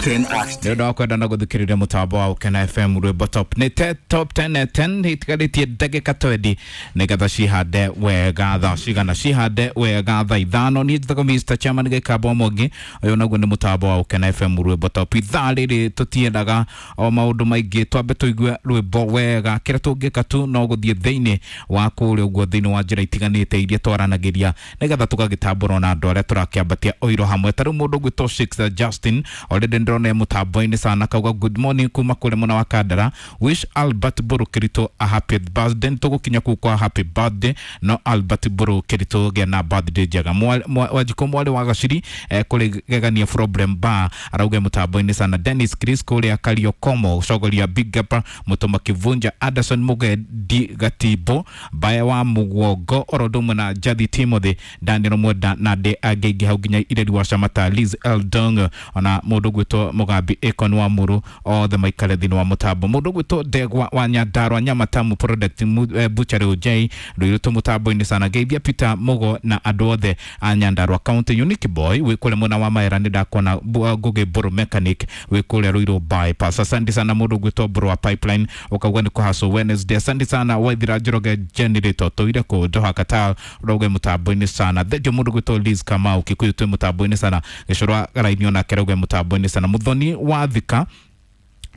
Nĩ ũndũ wa kwenda na gũthikĩrĩria mũtambo wa Ũkena FM rwĩmbo top nĩ te top 10 10 itigarĩtie ndagĩka 20 nĩgetha cihande wega thaa cigana cihande wega thaa ithano. Niĩ njĩtagwo Mr. Chairman Gĩkamba Mwangi, ũyũ naguo nĩ mũtambo wa Ũkena FM rwĩmbo top. Ithaa rĩrĩ tũtiendaga o maũndũ maingĩ, twambe tũigue rwĩmbo wega. Kĩrĩa tũngĩka tu no gũthiĩ thĩinĩ wa kũrĩa ũguo thĩinĩ wa njĩra itiganĩte iria twaranagĩria nĩgetha tũgagĩtambũrwo na andũ arĩa tũrakĩambatia ũiro hamwe. Ta rĩu mũndũ ũgwĩtwo Shakespeare Justin already ndĩrona e mũtambo-inĩ sana, kauga good morning kuma kũrĩa mwena wa Kandara, wish Albert Mbũrũ Kĩritũ a happy birthday. Nĩtũgũkinya kũu kwa happy birthday, no Albert Mbũrũ Kĩritũ gĩa na birthday njega. Wanjikũ mwarĩ wa Gaciri kũrĩ gegania problem bar arauga mũtambo-inĩ sana. Dennis Chris kũrĩa Kariokomo cogoria big up Mũtũma Kivunja Anderson Mugendi Gatimbo Mbaya wa Muguongo oro ũndũ ũmwe na Jathi Timothy Daniel Mwenda na andĩ angĩ aingĩ hau nginya Ireri wa Shamata Liz Eldong ona mũndũ ũgwĩtwo Mũgambi Akon wa Mũrũ othe maikare thĩinĩ wa mũtambo. Mũndũ ũgwĩtwo Ndegwa wa Nyandarua Nyamatamu Product Butchery J rũirũ mũtambo-inĩ sana. Geithia Peter Mugo na andũ othe a Nyandarua County. Unique Boy wĩ kũrĩa mwena wa Maera nĩ ndakuona Ngũgĩ Mbũrũ Mechanic wĩ kũrĩa Ruiru bypass. Asante sana mũndũ ũgwĩtwo Mbũrũ wa Pipeline ũkauga nĩ kũhacwo Wednesday. Asante sana Waithira Njoroge Generator tũire kũ Doha Qatar ũrauga mũtambo-inĩ sana. Thengio mũndũ ũgwĩtwo Liz Kamau Kikuyu twĩ mũtambo-inĩ sana. Gĩcũrwa Garaini onake arauga mũtambo-inĩ sana. Muthoni wa Thika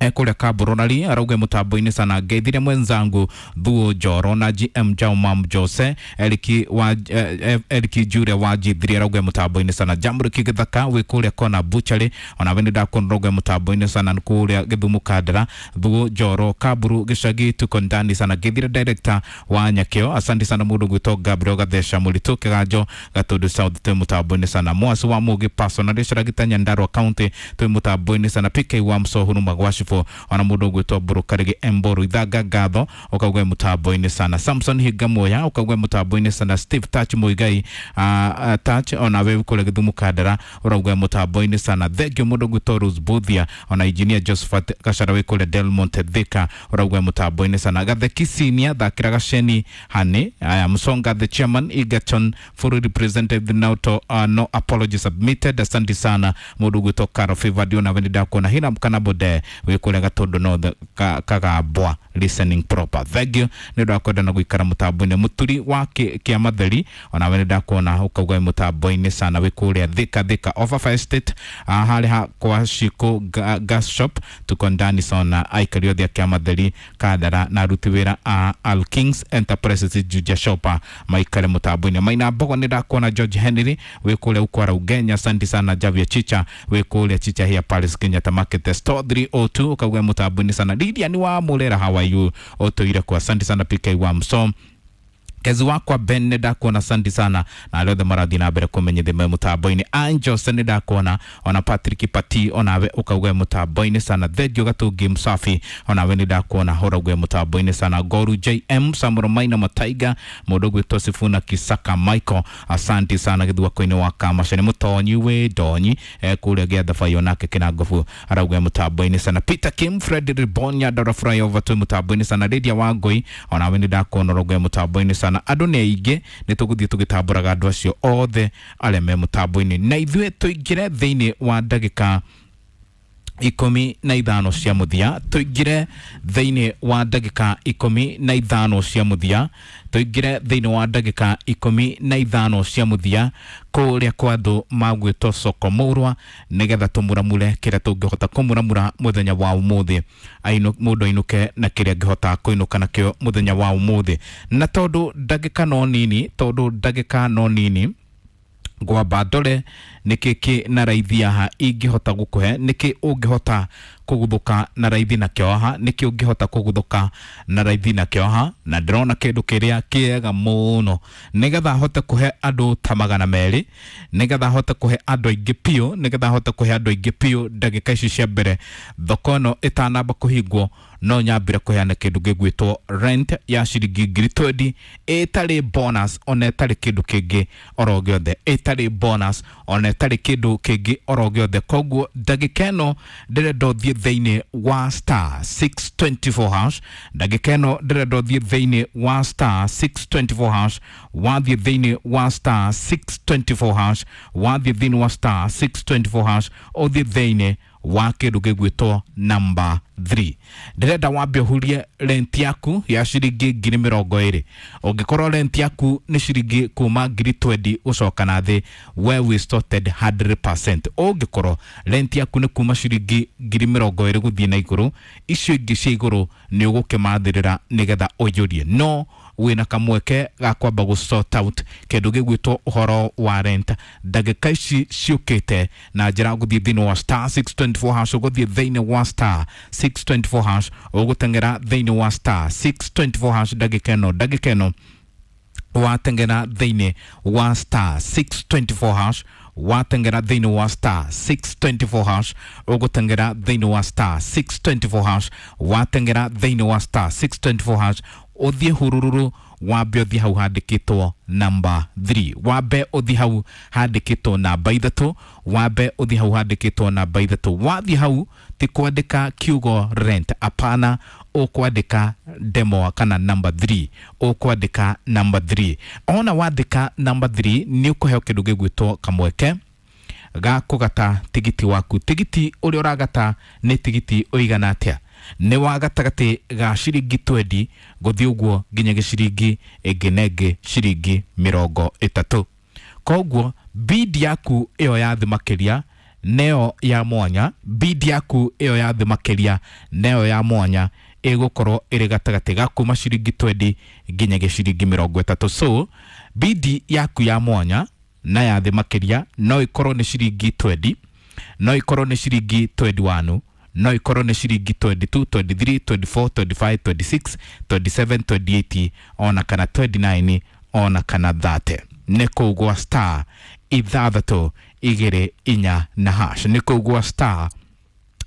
kũrĩa Kaburorari arauga mũtambo-inĩ sana. Ngeithire mwenzangu Thuo Njoro na GM Jaumam Jose Eriki wa Eriki Jure wa G3 arauga mũtambo-inĩ sana. Jamriki Gĩthaka wĩ kũrĩa Kona Butchery ona we nĩ ndakuona ũrauga mũtambo-inĩ sana kũrĩa Gĩthumo Kandara. Thuo Njoro Kaburu Gĩcagi tuko ndani sana. Ngeithire director wa Nyakĩo asante sana mũndũ gwĩtwo Gabriel Gatheca Mũritũ Kĩganjo Gatundu South twĩ mũtambo-inĩ sana. Mwasi wa Mũgĩ Personal Rĩcora Nyandarua County twĩ mũtambo-inĩ sana. PK wa Msohuru Magwacibũ ona mũndũ ũgwĩtwo Mbũrũ Karĩgĩ Mbũrũ Ithanga Ngatho ũkauga mũtambo-inĩ sana. Samson Hingamuoya ũkauga mũtambo-inĩ sana. Steve Touch Muigai Touch ona we kũrĩa Gĩthumo Kandara ũrauga mũtambo-inĩ sana. Thengio mũndũ ũgwĩtwo Rose Buthia ona engineer Josephat Gachara wĩ kũrĩa Delmonte Thika ũrauga mũtambo-inĩ sana. Gatheki Senior thakĩra Gaceni Hani aya Msonga the chairman Egerton fully represented now to, no apology submitted. Asante sana mũndũ ũgwĩtwo Caro Favor ona we nĩ ndakuona Hiram Kanabode wĩ kũrĩa Gatundu North Kagambwa listening proper. Thank you nĩ ũndũ wa kwenda na gũikara mũtambo-inĩ. Mũturi wa Kĩamatheri ona we nĩ ndakuona ũkauga wĩ mũtambo-inĩ sana wĩ kũrĩa Thika Thika Overfire Estate harĩa ha kwa Shiko gas shop tuko ndani sana. Aikari othe a Kĩamatheri Kandara na aruti wĩra a Al Kings Enterprises Juja Shop maikare mũtambo-inĩ. Maina Mbogo nĩ ndakuona George Henry wĩ kũrĩa Ukwara Ugenya asante sana. Javia Chicha wĩ kũrĩa Chicha here Paris Kenyatta Market Store 302 ũkauga mũtambo-inĩ sana. Lilian wa Murera how are you ũtũire kwa asante sana. PK wa Msom kezi wakwa Ben nĩ ndakuona asante sana na arĩa othe marathiĩ na mbere kũmenyithia me mũtambo-inĩ. Angels nĩ ndakuona ona Patrick Pati onawe ũkauga mũtambo-inĩ sana. Thengio Gatũngi Msafi onawe nĩ ndakuona ũrauga mũtambo-inĩ sana. Goru JM Samuel Maina Mataiga mũndũ ũgwĩtwo Sifuna Kisaka Michael asante sana. Gĩthwako-inĩ wa Kamacha nĩ mũtonyi wĩ ndonyi kũrĩa Gĩathabai onake Kĩnangobu arauga mũtambo-inĩ sana. Peter Kim Fred Ribonya Dora Flyover twĩ mũtambo-inĩ sana. Lydia Wangũi onawe nĩ ndakuona ũrauga mũtambo-inĩ sana. Andũ nĩ aingĩ nĩ tũgũthiĩ tũgĩtambũraga andũ acio othe arĩa me mũtambo-inĩ na ithuĩ tũingĩre thĩinĩ wa ndagĩka 15 cia mũthia, tũingĩre thĩinĩ wa ndagĩka 15 cia mũthia, tũingĩre thĩinĩ wa ndagĩka 15 cia mũthia kũrĩa kwa andũ magwĩtwo Soko Mũrwa nĩgetha tũmũramure kĩrĩa tũngĩhota kũmũramura mũthenya wa ũmũthĩ, mũndũ ainũke na kĩrĩa angĩhota kũinũka nakĩo mũthenya wa ũmũthĩ. Na tondũ ndagĩka no nini, tondũ ndagĩka no nini ngwamba ndore nĩkĩ kĩ na raithi haha ingĩhota gũkũhe, nĩkĩ ũngĩhota kũguthũka na raithi nakĩo haha, nĩkĩ ũngĩhota kũguthũka na raithi nakĩo haha. Na ndĩrona kĩndũ kĩrĩa kĩega mũno nĩgetha hote kũhe andũ ta 200, nĩgetha hote kũhe andũ aingĩ biũ, nĩgetha hote kũhe andũ aingĩ biũ ndagĩka ici cia mbere thoko ĩno ĩtanamba kũhingwo, no nyambire kũheana kĩndũ gĩgwĩtwo rent ya ciringi 20,000 ĩtarĩ bonus ona ĩtarĩ kĩndũ kĩngĩ oro gĩothe, ĩtarĩ bonus ona ĩtarĩ kĩndũ kĩngĩ oro gĩothe. Koguo ndagĩka ĩno ndĩrenda ũthiĩ thĩinĩ wa star 624 hash, ndagĩka ĩno ndĩrenda ũthiĩ thĩinĩ wa star 624 hash, wathiĩ thĩinĩ wa star 624 hash, wathiĩ thĩinĩ wa star 624 hash, ũthiĩ thĩinĩ wa kĩndũ gĩgwĩtwo number 3. Ndĩrenda wambe ũhurie rent yaku ya ciringi 20,000. Ũngĩkorwo rent yaku nĩ ciringi kuma 20,000 gũcoka na thĩ, we wĩ sorted 100%. Ũngĩkorwo rent yaku nĩ kuma ciringi 20,000 gũthiĩ na igũrũ, icio ingĩ cia igũrũ nĩ ũgũkĩmathĩrĩra nĩgetha ũiyũrie, no wĩna kamweke ga kwamba gũ sort out kĩndũ gĩgwĩtwo ũhoro wa rent ndagĩka ici ciũkĩte na njĩra gũthiĩ thĩinĩ wa star 624 hash. Ũgũthiĩ thĩinĩ wa star 624 hash, ũgũteng'era thĩinĩ wa star 624 hash ndagĩka ĩno. Wateng'era thĩinĩ wa star 624 hash, wateng'era thĩinĩ wa star 624 hash, ũgũteng'era thĩinĩ wa star 624 hash, wateng'era thĩinĩ wa star 624 hash, ũthiĩ hurururu, wambe ũthiĩ hau handĩkĩtwo namba 3, wambe ũthiĩ hau handĩkĩtwo namba 3, wambe ũthiĩ hau handĩkĩtwo namba 3. Wathiĩ hau ti kwandĩka kiugo rent, apana, ũkwandĩka demo kana namba 3, ũkwandĩka namba 3. Ona wandĩka namba 3 nĩ ũkũheo kĩndũ gĩgwĩtwo kamweke ga kũgata tigiti waku. Tigiti ũrĩa ũragata nĩ tigiti ũigana atĩa? Nĩ wa gatagatĩ ga ciringi 20 gũthiĩ ũguo nginya gĩciringi ĩngĩ na ĩngĩ ciringi 30. Koguo bid yaku ĩyo ya thĩ makĩria nĩyo ya mwanya, bid yaku ĩyo ya thĩ makĩria nĩyo ya mwanya ĩgũkorwo ĩrĩ gatagatĩ ga kuma ciringi 20 nginya gĩciringi 30. So bid yaku ya mwanya na ya thĩ makĩria no ĩkorwo nĩ ciringi 20, no ĩkorwo nĩ ciringi 21, no ikorwo nĩ ciringi 22, 23, 24, 25, 26, 27, 28 ona kana 29 ona kana 30. Nĩ kũu gwa star 624 na hash, nĩ kũu gwa star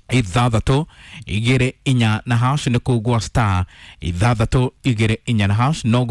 624 na hash, nĩ kũu gwa star 624 na hash no.